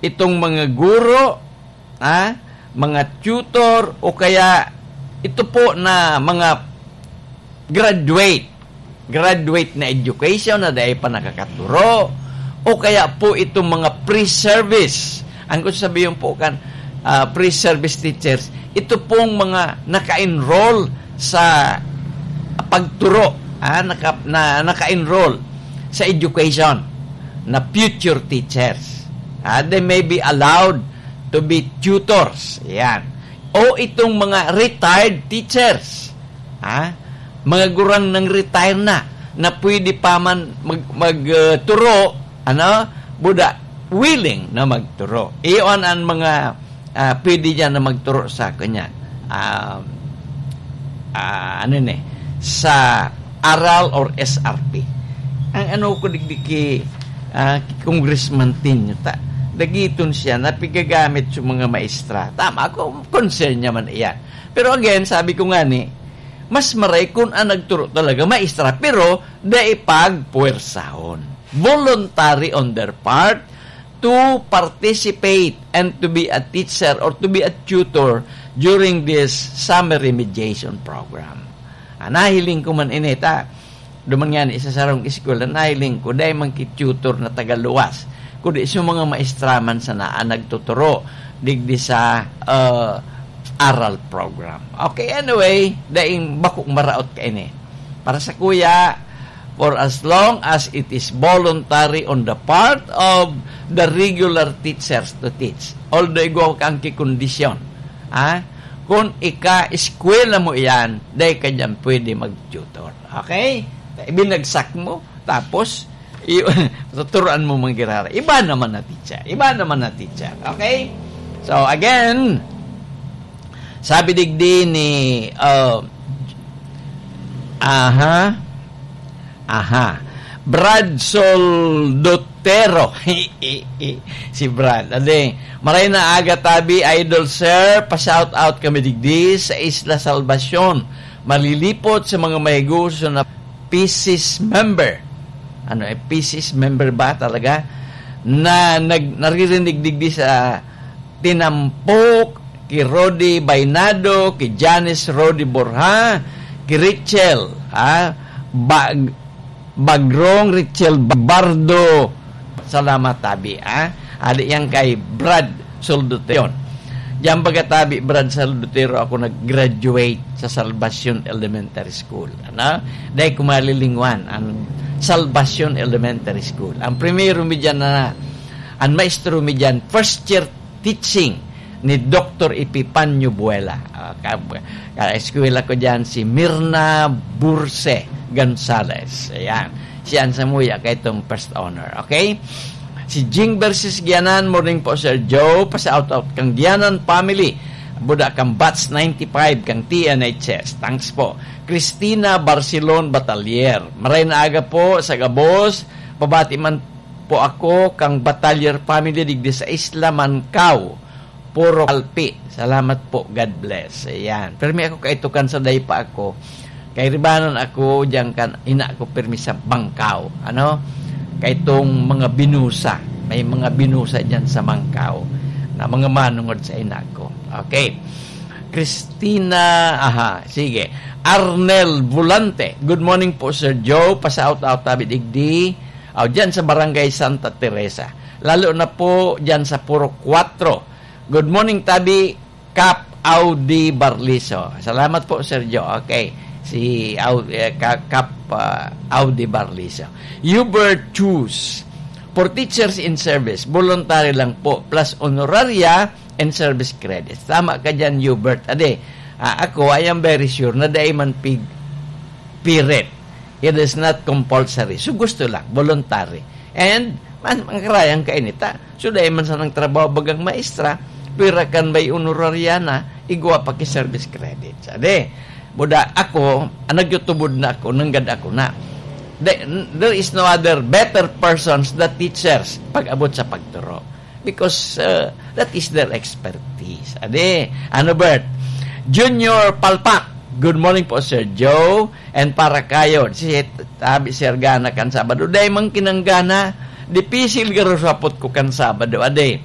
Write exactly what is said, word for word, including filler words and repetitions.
itong mga guro, ha, mga tutor, o kaya ito po na mga graduate, graduate na education na dai pa nakakaturo, o kaya po itong mga pre-service. Ang gusto sabihin po kan, ah, pre-service teachers, ito pong mga naka-enroll sa pagturo, ah, naka-, na, naka-enroll sa education na future teachers. Ah, they may be allowed to be tutors. Yan. O itong mga retired teachers. Ha? Mga gurang nang retire na, na pwede pa man mag-, mag, uh, turo, ano? Buda, willing na magturo. Iyon ang mga, ah, pwede diyan na magturo sa kanya. Ah, ah, ano ni? Sa aral or S R P. Ang ano ko digdi ki, ah, ki Congressman Tinio, ta, dagiton siya na pigagamit sa mga maestra. Tama ko, concern niya man iyan. Pero again, sabi ko nga ni, mas maray kun ang nagturo talaga maestra, pero dai pagpuwersahon. Voluntary on their part to participate and to be a teacher or to be a tutor during this summer remediation program. Ah, nahiling ko man ini, ta. Duman nga ni sa sarong eskwela, nahiling ko, dai man ki tutor na tagaluwas, kundi sa mga maestra man sana ang nagtuturo digdi sa, uh, aral program. Okay, anyway, daing bakong maraot kaini. Para sa kuya, for as long as it is voluntary on the part of the regular teachers to teach. Although igwa kang kikondisyon, ha? Kung ika-eskwela mo iyan, dai ka diyan pwede mag-tutor. Okay? Ibinagsak mo, tapos, i-, tuturuan mo manggirara. Iba naman na teacher. Iba naman na teacher. Okay? So, again, sabi digdi ni, uh, aha, aha, Brad Soldotero. Si Brad. Ade, maray na aga tabi, idol sir. Pa-shout out kami digdi sa Isla Salvacion. Malilipot sa mga mahigoso na P C S member. Ano, eh, P C S member ba talaga? Na nag-, naririnig digdi sa tinampok ki Rodi Bainado, ki Janice Rodi Borja, ki Richel, ha? Bag-, Bagrong Richel Bardo. Salamat, tabi, ha? Adi yan kay Brad Soldotero. Diyan baga, tabi, Brad Soldotero, ako nag-graduate sa Salvacion Elementary School. Ano? Dahil ko malilingwan ang Salvacion Elementary School. Ang primero mi dyan na, ang maestro mi dyan, first year teaching ni Doktor Epifanio Buela. Ah, ka-, ka-eskwela ko diyan si Mirna Burse Gonzalez. Ayan. Siya ang samuya kay itong first honor. Okay? Si Jing versus Gianan, morning po, Sir Joe. Pa-shout out kang Gianan family. Buda kang batch ninety-five kang T N H S. Thanks po. Christina Barcelon Batalier. Maray na aga po sa gabos. Pabati man po ako kang Batalier family digdi sa Isla Mancao. Puro kalpi. Salamat po. God bless. Ayan. Permi ako kaitukan sa daypa ako. Kay ribanan ako, diyan kan ina ko permi sa Bangkao. Ano? Kay itong mga binusa. May mga binusa diyan sa Bangkao na mga manungod sa ina ko. Okay. Christina, aha, sige. Arnel Volante. Good morning po, Sir Joe. Pa-shout out tabi digdi. Aw, diyan sa Barangay Santa Teresa. Lalo na po diyan sa Purok Cuatro. Good morning, tabi, Kap Audi Barliso. Salamat po, Sir Joe. Okay. Si Au-, eh, Ka-, Kap, ah, Audi Barliso. Hubert Chus. For teachers in service, voluntary lang po, plus honoraria and service credits. Tama ka dyan, Hubert. Ade, ah, ako, I am very sure na dai man pig-, pirit. It is not compulsory. So, gusto lang, voluntary. And, man, ang karayang kainita. So, dai man sanang trabaho bagang maestra, pira kan may honoraria na, igwa pa ki service credits. Ade, buda ako, ang nagyutubod na ako, nanggad ako na. There, there is no other better persons than teachers pag-abot sa pagturo. Because, uh, that is their expertise. Ade, ano, Bert? Junior Palpak, good morning po, Sir Joe. And para kayo, si Tabi Sir Gana kan Sabado. Dai man kinanggana, dipisil garo sapot ko kan Sabado. Ade,